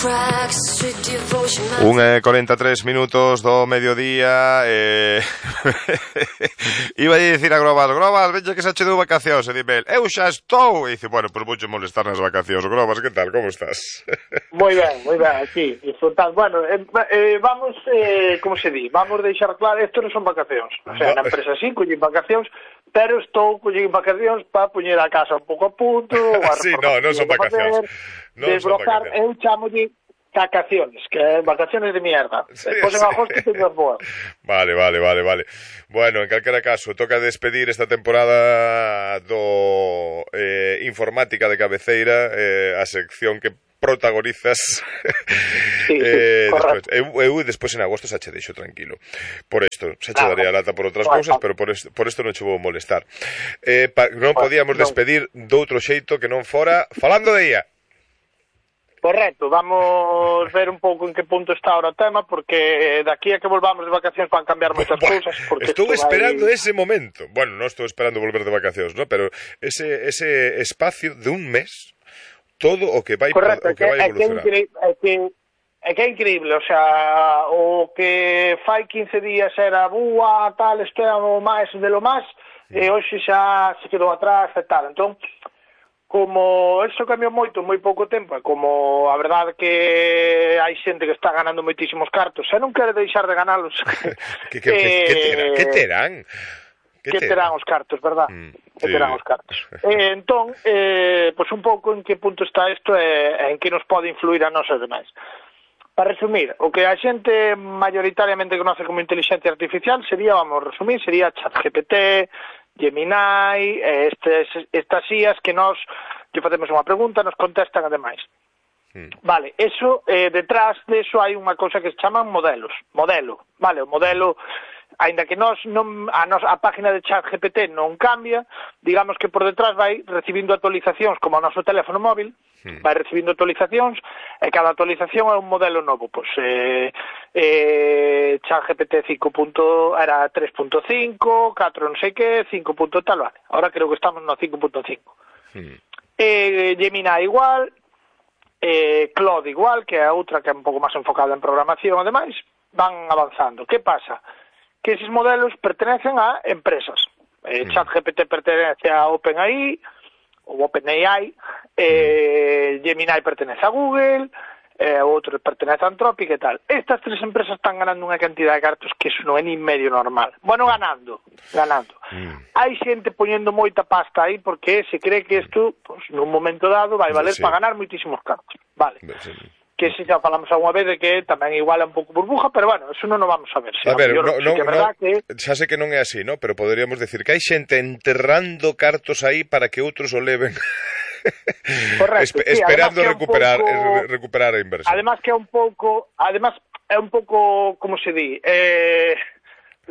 1:43 do mediodía. Iba a dicir a Grobas, veña que xa che dou vacacións. E dime, eu xa estou. E dice, bueno, pues vouche molestar nas vacacións. Grobas, que tal, como estás? Moi ben, aquí, disfrutando. Bueno, vamos, como se di, vamos deixar claro, isto non son vacacións. O sea, na empresa sí, collín vacacións, pero estou collín vacacións para poñer a casa un pouco a punto. Sí, non son vacacións. Desblocar, eu chamolle vacaciones, que vacaciones de mierda. Despois en agosto teño as boas. Vale. Bueno, en calquera caso, toca despedir esta temporada do Informática de Cabeceira, a sección que protagonizas. Sí, despois en agosto xa che deixo tranquilo. Por isto, xa che daré a lata por outras cousas, pero por isto non che vou molestar. Non podíamos despedir doutro xeito que non fora falando de IA. Correcto, vamos ver un pouco en que punto está ahora o tema, porque daqui a que volvamos de vacacións van cambiar moitas cousas. Estou esperando ese momento. Bueno, non estou esperando volver de vacacións, ¿no? Pero ese espacio de un mes, todo o que vai evolucionar. É que é increíble, o sea, o que fai 15 días era búa, tal, isto é o máis de lo máis, e hoxe xa se quedou atrás e tal. Entón, como eso cambiou moito en moi pouco tempo, como a verdade que hai xente que está ganando moitísimos cartos, e non quere deixar de ganalos. Que terán? Que terán os cartos, verdad? Que terán os cartos. Entón, pois un pouco en que punto está isto e en que nos pode influir a nós e demais. Para resumir, o que a xente mayoritariamente conoce como inteligencia artificial sería, vamos a resumir, sería ChatGPT, Gemini, estas IAs que nos lle facemos unha pregunta, nos contestan ademais. Vale, eso, detrás de eso hai unha cousa que se chaman modelo, vale, o modelo, aínda que a página de ChatGPT non cambia, digamos que por detrás vai recibindo actualizacións como o noso teléfono móvil, vai recibindo actualizacións, e cada actualización é un modelo novo, pois ChatGPT 5. Era 3.5, 4 non sei que, 5. Tal, vale, ahora creo que estamos no 5.5. Gemini igual, Claude igual, que é outra que é un pouco máis enfocada en programación, ademais, van avanzando. Que pasa? Que eses modelos pertenecen a empresas. ChatGPT pertenece a OpenAI, ou OpenAI, Gemini pertenece a Google, outro pertenece a Anthropic e tal. Estas tres empresas están ganando unha cantidad de cartos que iso non é ni medio normal. Bueno, ganando. Hai xente poñendo moita pasta aí porque se cree que isto, pues, nun momento dado, vai valer para ganar moitísimos cartos. Vale. Que se xa falamos alguna vez de que tamén igual é un pouco burbuja, pero bueno, eso non o vamos a ver. A ver, xa sei que non é así, ¿no? Pero poderíamos decir que hai xente enterrando cartos aí para que outros o leven. Correcto, esperando recuperar a inversión. Además que é un pouco, como se di,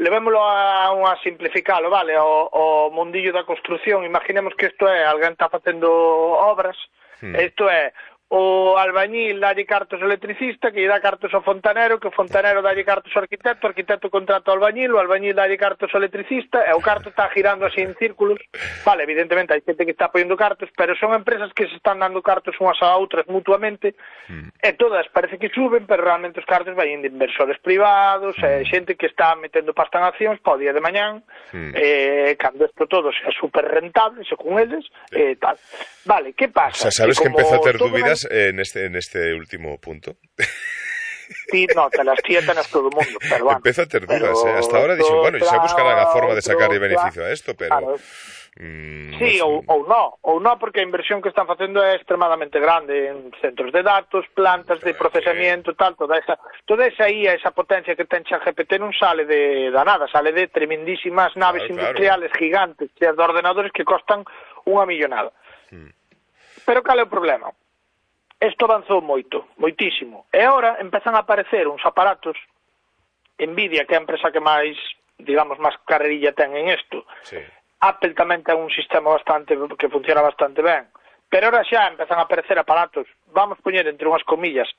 levémolo a simplificalo, vale, o mundillo da construción. Imaginemos que isto é, alguén está facendo obras, isto é, o albañil dalle cartos ao electricista, que lle dá cartos ao fontanero, que o fontanero dalle cartos ao arquitecto, o arquitecto contrata ao albañil, o albañil dalle cartos ao electricista, e o carto está girando así en círculos. Vale, evidentemente hai xente que está poñendo cartos, pero son empresas que se están dando cartos unhas a outras mutuamente, e todas parece que suben, pero realmente os cartos vai de inversores privados, e xente que está metendo pasta en accións para o día de mañán, cando isto todo sea super rentable, según eles, tal. Vale, que pasa? O sea, sabes que empeza a ter dúbidas en este último punto. Sí, no, te las tenes todo o mundo, pero bueno. Empeza a ter dúdas, hasta ahora dixo, bueno, xa buscarán a forma de sacar beneficio a esto, pero... Claro. Sí, ou non, porque a inversión que están facendo é extremadamente grande en centros de datos, plantas de procesamiento, tal, toda esa IA, esa potencia que ten ChatGPT non sale de nada, sale de tremendísimas naves industriales gigantes, de ordenadores que costan unha millonada. Pero cal é o problema? Isto avanzou moitísimo. E agora empezan a aparecer uns aparatos, Nvidia, que é a empresa que máis, digamos, máis carrerilla ten en isto. Apple tamén ten un sistema que funciona bastante ben. Pero ahora xa empezan a aparecer aparatos, vamos poñer entre unhas comillas,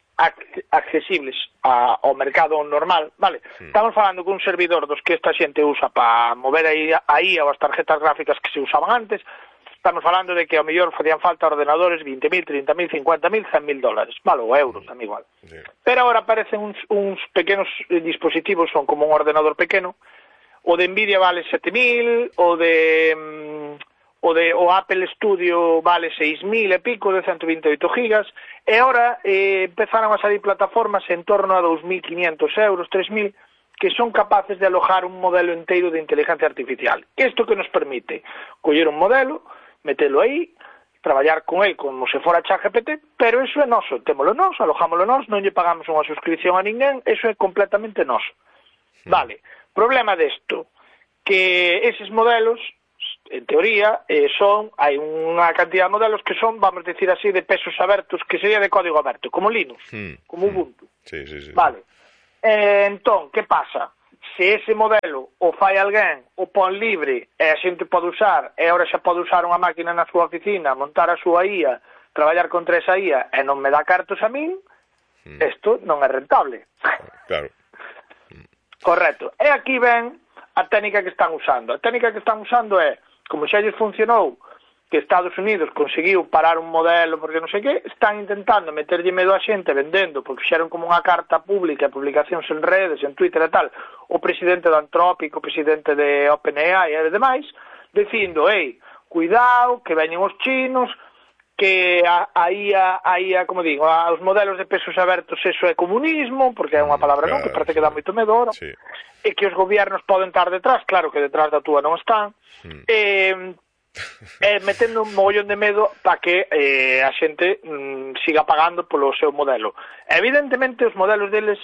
accesibles ao mercado normal, vale? Estamos falando con un servidor dos que esta xente usa para mover aí ou as tarjetas gráficas que se usaban antes, estamos falando de que ao mellor facían falta ordenadores 20.000, 30.000, 50.000, 100.000 dólares, vale, ou euros, tamén igual. Sí. Pero agora aparecen uns pequenos dispositivos, son como un ordenador pequeno, o de Nvidia vale 7.000, o Apple Studio vale 6.000 e pico, de 128 gigas, e agora empezaron a salir plataformas en torno a 2.500 euros, 3.000, que son capaces de alojar un modelo inteiro de inteligencia artificial. Isto que nos permite coller un modelo, metelo aí, traballar con el como se fora ChatGPT, pero eso é noso, témolo nós, alojámolo nós, non lle pagamos unha suscripción a ninguén, eso é completamente noso. Vale, problema desto, que eses modelos, en teoría, hai unha cantidad de modelos que son, vamos decir así, de pesos abertos, que sería de código aberto, como Linux, como Ubuntu. Sí. Vale, entón, que pasa? Se ese modelo o fai alguén, o pon libre, e a xente pode usar, e agora xa pode usar unha máquina na súa oficina, montar a súa IA, traballar contra esa IA, e non me dá cartos a min, isto non é rentable. Claro. Correcto. E aquí ven a técnica que están usando. A técnica que están usando é, como xa lles funcionou, que Estados Unidos conseguiu parar un modelo porque non sei que, están intentando meterlle medo a xente vendendo, porque fixeron como unha carta pública, publicacións en redes, en Twitter e tal, o presidente do Anthropic, o presidente de OpenAI e demais, dicindo, cuidado, que veñen os chinos, que a IA, como digo, os modelos de pesos abertos, eso é comunismo, porque é unha palabra non, que parece que dá moito medo ahora, e que os gobiernos poden estar detrás, claro que detrás da túa non están, metendo un mogollón de medo para que a xente siga pagando polo seu modelo. Evidentemente os modelos deles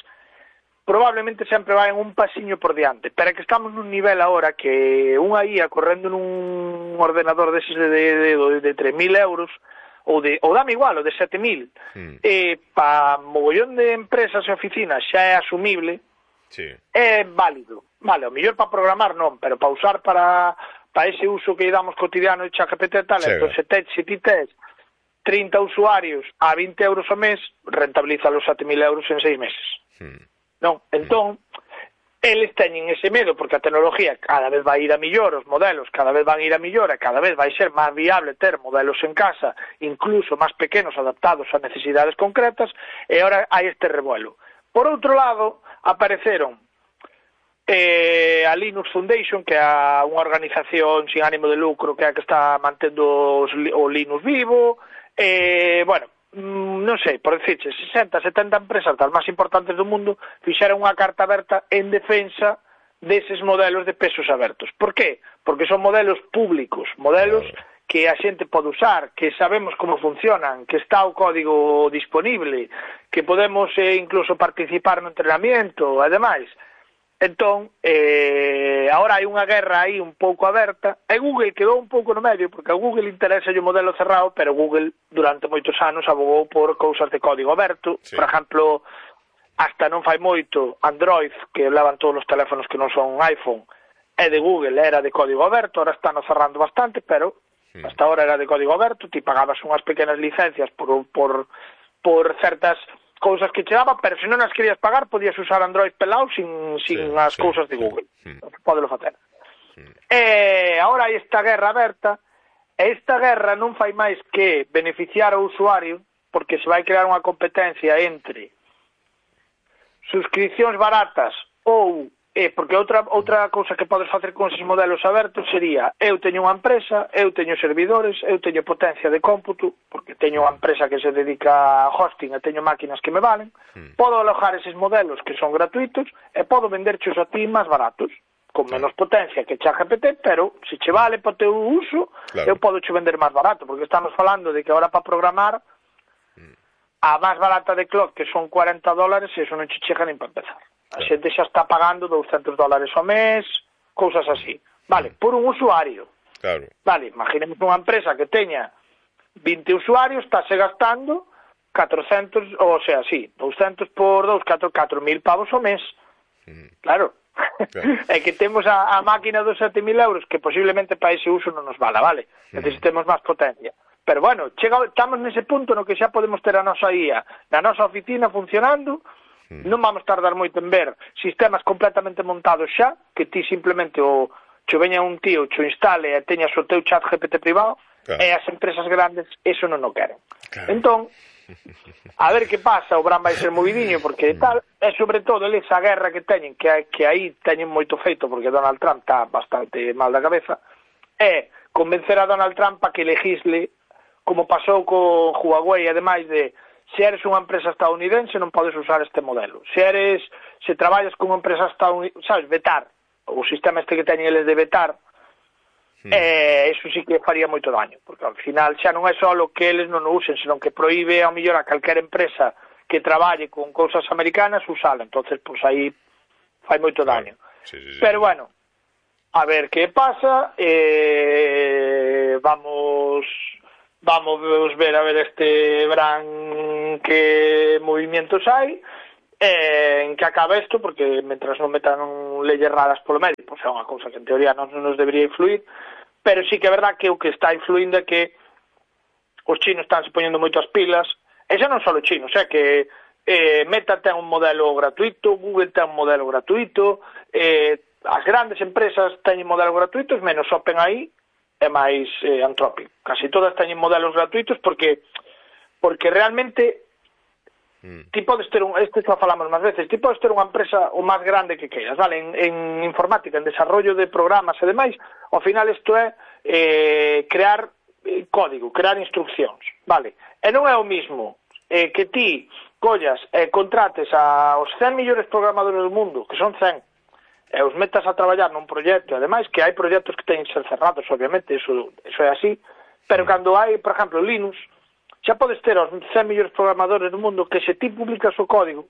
probablemente sempre van un pasiño por diante, pero é que estamos nun nivel agora que unha IA correndo nun ordenador deses de 3.000 euros ou dame igual, ou de 7.000 para mogollón de empresas e oficinas xa é asumible, é válido, vale, o mellor para programar non, pero para usar para ese uso que damos cotidiano de ChatGPT e tal, entón se ti tes 30 usuarios a 20 euros ao mes, rentabiliza os 7.000 euros en 6 meses. Non? Entón, eles teñen ese medo, porque a tecnología cada vez vai ir a millor, os modelos cada vez van ir a millor, e cada vez vai ser máis viable ter modelos en casa, incluso máis pequenos, adaptados a necesidades concretas, e agora hai este revuelo. Por outro lado, apareceron a Linux Foundation, que é unha organización sin ánimo de lucro que é a que está mantendo o Linux vivo, bueno, non sei, por dicirche, 60, 70 empresas das máis importantes do mundo fixeron unha carta aberta en defensa deses modelos de pesos abertos. Por qué? Porque son modelos públicos, modelos que a xente pode usar, que sabemos como funcionan, que está o código disponible, que podemos incluso participar no entrenamiento e demais. Entón, agora hai unha guerra aí un pouco aberta, e Google quedou un pouco no medio, porque a Google interesa o modelo cerrado, pero Google durante moitos anos abogou por cousas de código aberto. Por exemplo, hasta non fai moito, Android, que levan todos os teléfonos que non son iPhone, é de Google, era de código aberto, ahora están cerrando bastante, pero hasta ahora era de código aberto, ti pagabas unhas pequenas licencias por certas cousas que che daba, pero se non as querías pagar podías usar Android pelado sin as cousas de Google. Pódelo facer. Agora hai esta guerra aberta, e esta guerra non fai máis que beneficiar ao usuario, porque se vai crear unha competencia entre suscripcións baratas ou porque outra cousa que podes facer con esos modelos abertos sería, eu teño unha empresa, eu teño servidores, eu teño potencia de cómputo, porque teño unha empresa que se dedica a hosting e teño máquinas que me valen, podo alojar eses modelos que son gratuitos e podo venderchos a ti máis baratos, con menos potencia que ChatGPT, pero se che vale para o teu uso, eu podo che vender máis barato, porque estamos falando de que agora para programar a máis barata de Claude, que son $40, e eso non che chega nin para empezar. A xente xa está pagando $200 ao mes, cousas así. Vale, por un usuario. Vale, imaginemos unha empresa que teña 20 usuarios, estáse gastando 400, o sea, 200 por 2, 4.000 pavos ao mes. Claro. É que temos a máquina dos 7.000 euros, que posiblemente para ese uso non nos vala, vale? Necesitemos máis potencia. Pero bueno, estamos nese punto no que xa podemos ter a nosa IA na nosa oficina funcionando. Non vamos tardar moito en ver sistemas completamente montados xa, que ti simplemente che veña un tío, che instale e teñas o teu chat GPT privado, E as empresas grandes eso non o queren. Entón, a ver que pasa, o Bran vai ser movidiño, porque tal, e sobre todo esa guerra que teñen, que aí teñen moito feito, porque Donald Trump está bastante mal da cabeza, é convencer a Donald Trump a que legisle, como pasou con Huawei, ademais de se eres unha empresa estadounidense non podes usar este modelo. Se traballas con unha empresa estadounidense, sabes, vetar, o sistema este que teñen eles de vetar, eso sí que faría moito daño, porque ao final xa non é só que eles non o usen, senón que proíbe ao mellor a calquera empresa que traballe con cousas americanas usala, entonces pues aí fai moito daño. Sí. Pero bueno, a ver que pasa, vamos ver a ver este Bran que movimientos hai, en que acaba isto, porque mentras non metan leyes raras polo medio, pois é unha cousa que en teoría non nos debería influir, pero sí que é verdad que o que está influindo é que os chinos están se poñendo moito as pilas, e xa non só os chinos, é que Meta ten un modelo gratuito, Google ten un modelo gratuito, as grandes empresas teñen modelos gratuitos, menos OpenAI e máis Anthropic. Casi todas teñen modelos gratuitos porque realmente ti podes ter isto xa falamos máis veces, ti podes ter unha empresa o máis grande que queiras, vale? En informática, en desarrollo de programas e demais, ao final isto é crear código, crear instruccións, vale? E non é o mismo que ti collas e contrates aos 100 millores programadores do mundo, que son 100, e os metas a traballar nun proxecto, ademais que hai proxectos que teñen que ser cerrados, obviamente, eso é así, pero cando hai, por exemplo, Linux, xa podes ter os 100 millores programadores do mundo que se ti publicas o código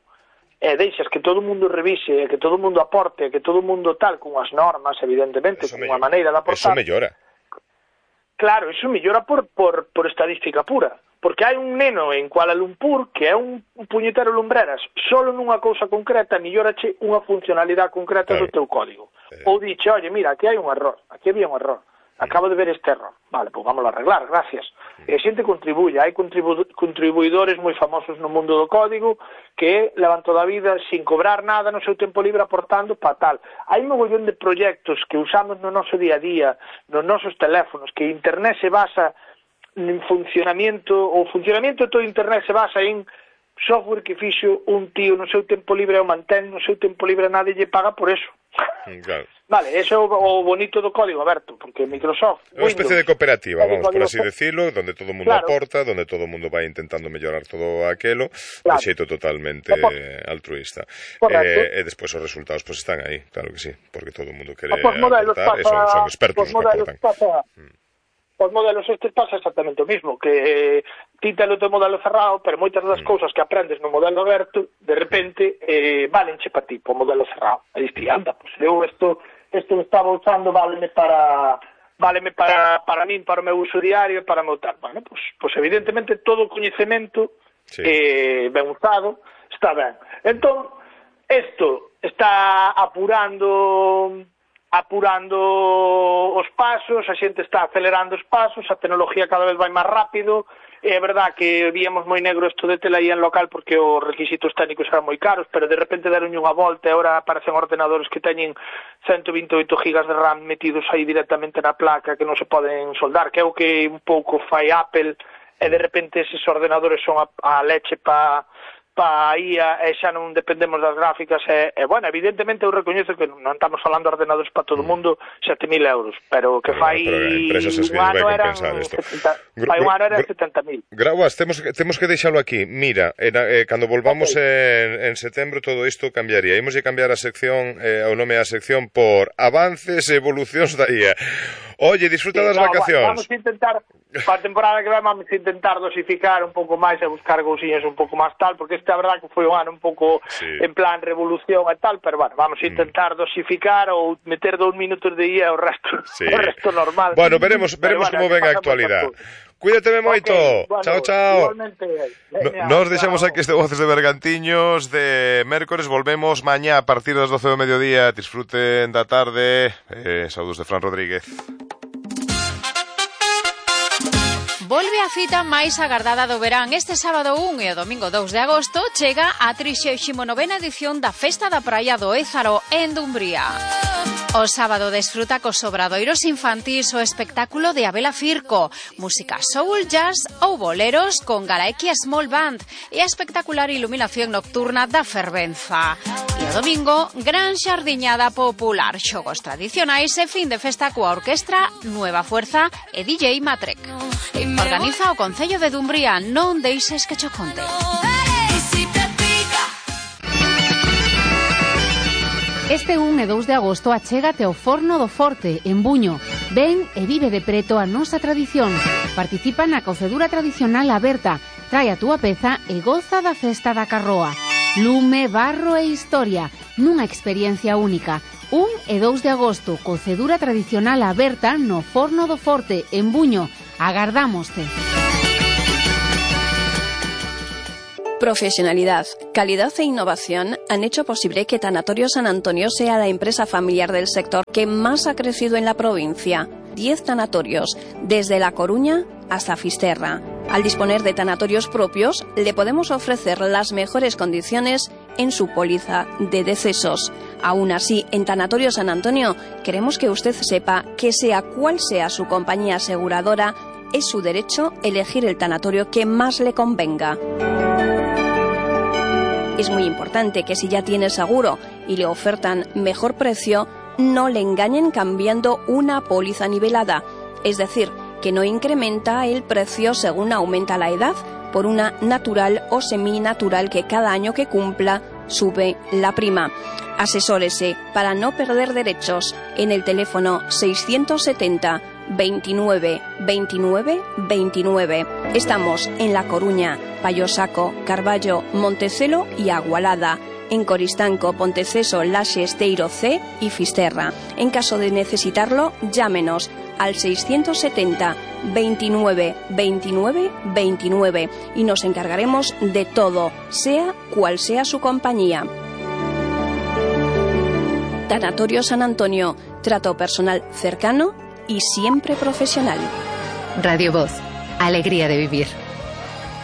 e deixas que todo o mundo revise, que todo o mundo aporte, que todo o mundo tal, con as normas, evidentemente, con unha maneira de aportar. Eso mellora. Claro, eso mellora por estadística pura. Porque hai un neno en Kuala Lumpur que é un puñetero lumbreras solo nunha cousa concreta, mellorache unha funcionalidade concreta do teu código. Ou diche, oye, mira, aquí hai un error, aquí había un error, acabo de ver este error. Vale, pois vamos a arreglar, gracias. E a xente contribuye, hai contribuidores moi famosos no mundo do código que levan toda a vida sin cobrar nada no seu tempo libre aportando para tal. Hai un mogollón de proxectos que usamos no noso día a día, nos nosos teléfonos, que internet se basa en funcionamento, o funcionamento de todo internet se basa en software que fixo un tío no seu tempo libre o mantén no seu tempo libre, nadie lle paga por eso. Claro. Vale, eso é o bonito do código aberto, porque Microsoft, unha especie de cooperativa, vamos, por así que... decirlo, donde todo o mundo aporta, donde todo o mundo vai intentando mellorar todo aquelo, de xeito totalmente altruista. E despois os resultados pues están aí, claro que sí, porque todo o mundo quere aportar, son expertos os que aportan. Os modelos estes pasa exactamente o mismo, que ti telo teu modelo cerrado, pero moitas das cousas que aprendes no modelo aberto, de repente, valenche para ti, po modelo cerrado. E diste, anda, pues eu isto estaba usando, váleme para min, para o meu uso diario, para o meu tal. Bueno, pues evidentemente todo o coñecemento ben usado está ben. Entón, isto está apurando os pasos, a xente está acelerando os pasos, a tecnología cada vez vai máis rápido, é verdad que víamos moi negro isto de tela aí en local porque os requisitos técnicos eran moi caros, pero de repente deron unha volta e agora aparecen ordenadores que teñen 128 gigas de RAM metidos aí directamente na placa que non se poden soldar, que é o que un pouco fai Apple, e de repente eses ordenadores son a leche para IA e xa non dependemos das gráficas e bueno, evidentemente eu recoñezo que non estamos falando de ordenadores para todo o mundo 7.000 euros, pero que fai un ano eran 70.000. Graúas, temos que deixalo aquí. Mira, cando volvamos en setembro todo isto cambiaría. Imos de cambiar a sección, o nome da sección por avances e evolucións da IA. Oye, disfruta das vacacións. Vamos a intentar, para a temporada que vamos a intentar dosificar un pouco máis e buscar cousiñas un pouco máis tal, porque esta verdad que foi un ano un pouco en plan revolución e tal, pero bueno, vamos a intentar dosificar ou meter 2 minutos de IA o resto normal. Bueno, veremos como ven a actualidade. Cuídateme moito. Chao, chao. Igualmente. Nos deixamos aquí este Voces de Bergantiños de mércores, volvemos mañá a partir das 12 do mediodía. Disfruten da tarde. Saúdos de Fran Rodríguez. Volve a cita máis agardada do verán. Este sábado 1 e o domingo 2 de agosto chega a 39ª edición da Festa da Praia do Ézaro en Dumbría. O sábado desfruta cos obradoiros infantís o espectáculo de Abela Firco, música soul, jazz ou boleros con Galaequia Small Band e a espectacular iluminación nocturna da Fervenza. E o domingo, gran xardiñada popular, xogos tradicionais e fin de festa coa orquestra Nueva Fuerza e DJ Matrek. Organiza o Concello de Dumbría, non deixes que cho conte. Este 1 e 2 de agosto achégate ao Forno do Forte, en Buño. Ven e vive de preto a nosa tradición. Participa na cocedura tradicional aberta. Trae a túa peza e goza da festa da carroa. Lume, barro e historia, nunha experiencia única. 1 e 2 de agosto, cocedura tradicional aberta no Forno do Forte, en Buño. Agardámoste. Profesionalidad, calidad e innovación han hecho posible que Tanatorio San Antonio sea la empresa familiar del sector que más ha crecido en la provincia. 10 tanatorios, desde La Coruña hasta Fisterra. Al disponer de tanatorios propios, le podemos ofrecer las mejores condiciones en su póliza de decesos. Aún así, en Tanatorio San Antonio, queremos que usted sepa que sea cual sea su compañía aseguradora, es su derecho elegir el tanatorio que más le convenga. Es muy importante que si ya tiene seguro y le ofertan mejor precio, no le engañen cambiando una póliza nivelada, es decir, que no incrementa el precio según aumenta la edad, por una natural o seminatural que cada año que cumpla sube la prima. Asesórese para no perder derechos en el teléfono 670 29 29 29. Estamos en La Coruña, Payosaco, Carballo, Montecelo y Agualada. En Coristanco, Ponteceso, Laxe, Esteiro C y Fisterra. En caso de necesitarlo, llámenos al 670 29 29 29 y nos encargaremos de todo, sea cual sea su compañía. Tanatorio San Antonio, trato personal cercano y siempre profesional. Radio Voz, alegría de vivir.